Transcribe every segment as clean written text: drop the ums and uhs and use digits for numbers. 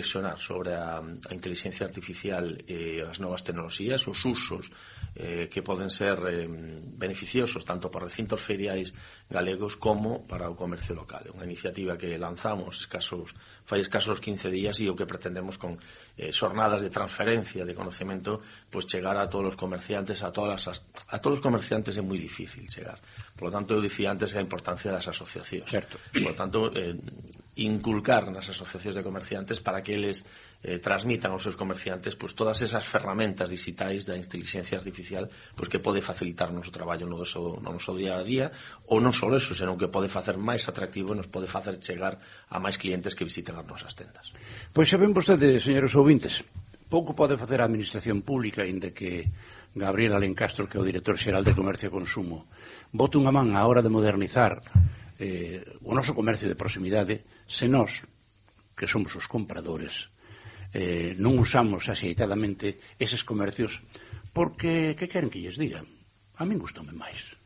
reflexionar sobre a inteligencia artificial e as novas tecnoloxías, os usos que poden ser beneficiosos tanto para recintos feriais galegos como para o comercio local. É unha iniciativa que lanzamos fai escasos 15 días e o que pretendemos con xornadas de transferencia de conocemento, pois chegar a todos os comerciantes, a todos os comerciantes é moi difícil chegar. Por lo tanto, eu dicía antes a importancia das asociacións. Certo. Por lo tanto, inculcar nas asociacións de comerciantes para que eles transmitan aos seus comerciantes pois todas esas ferramentas digitais da inteligencia artificial pois que pode facilitar o noso traballo no noso día a día, ou non só eso, senón que pode facer máis atractivo e nos pode facer chegar a máis clientes que visiten as nosas tendas. Pois xa ven vostedes, señores ouvintes, pouco pode facer a administración pública, inda que Gabriel Alencastro, que é o director xeral de Comercio e Consumo, bote unha man á hora de modernizar o noso comercio de proximidade, se nós, que somos os compradores, non usamos axeitadamente eses comercios, porque que queren que lles diga? A min gustoume máis.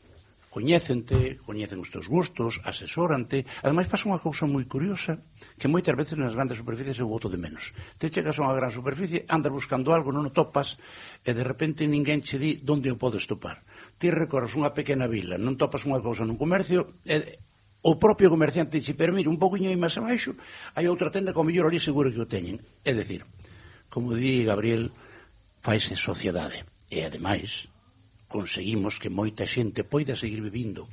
Coñécente, coñecen os teus gustos, asesórante. Ademais pasa unha cousa moi curiosa, que moitas veces nas grandes superficies eu boto de menos. Te chegas a unha gran superficie, andas buscando algo, non o topas, e de repente ninguén che di onde o podes topar. Ti recorres unha pequena vila, non topas unha cousa nun comercio, e o propio comerciante dixe, pero mira, un poquinho aí máis abaixo hai outra tenda que ao mellor ali seguro que o teñen. É dicir, como di Gabriel, faise sociedade. E ademais conseguimos que moita xente poida seguir vivindo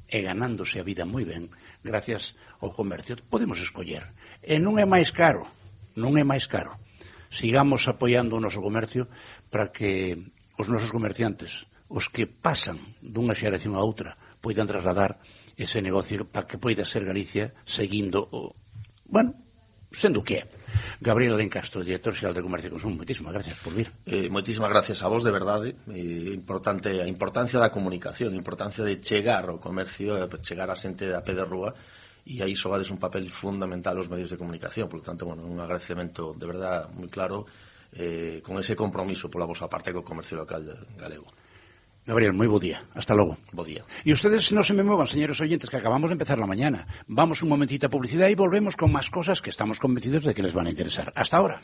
e ganándose a vida moi ben gracias ao comercio. Podemos escoller. E non é máis caro. Non é máis caro. Sigamos apoiando o noso comercio para que os nosos comerciantes, os que pasan dunha xeración a outra, poidan trasladar ese negocio para que poida ser Galicia seguindo sendo o que é. Gabriel Alencastro, director xeral de Comercio e Consumo, moitísimas gracias por vir. Moitísimas gracias a vos, de verdade. Importante a importancia da comunicación, a importancia de chegar ao comercio, chegar a xente a pé de rúa, e aí xogades un papel fundamental os medios de comunicación. Por lo tanto, un agradecemento de verdade moi claro, con ese compromiso pola vosa parte co comercio local galego. Gabriel, moi bo día. Hasta logo. Bo día. E ustedes non se me movan, señores oyentes, que acabamos de empezar la mañana. Vamos un momentito a publicidade e volvemos con máis cosas que estamos convencidos de que les van a interesar. Hasta ahora.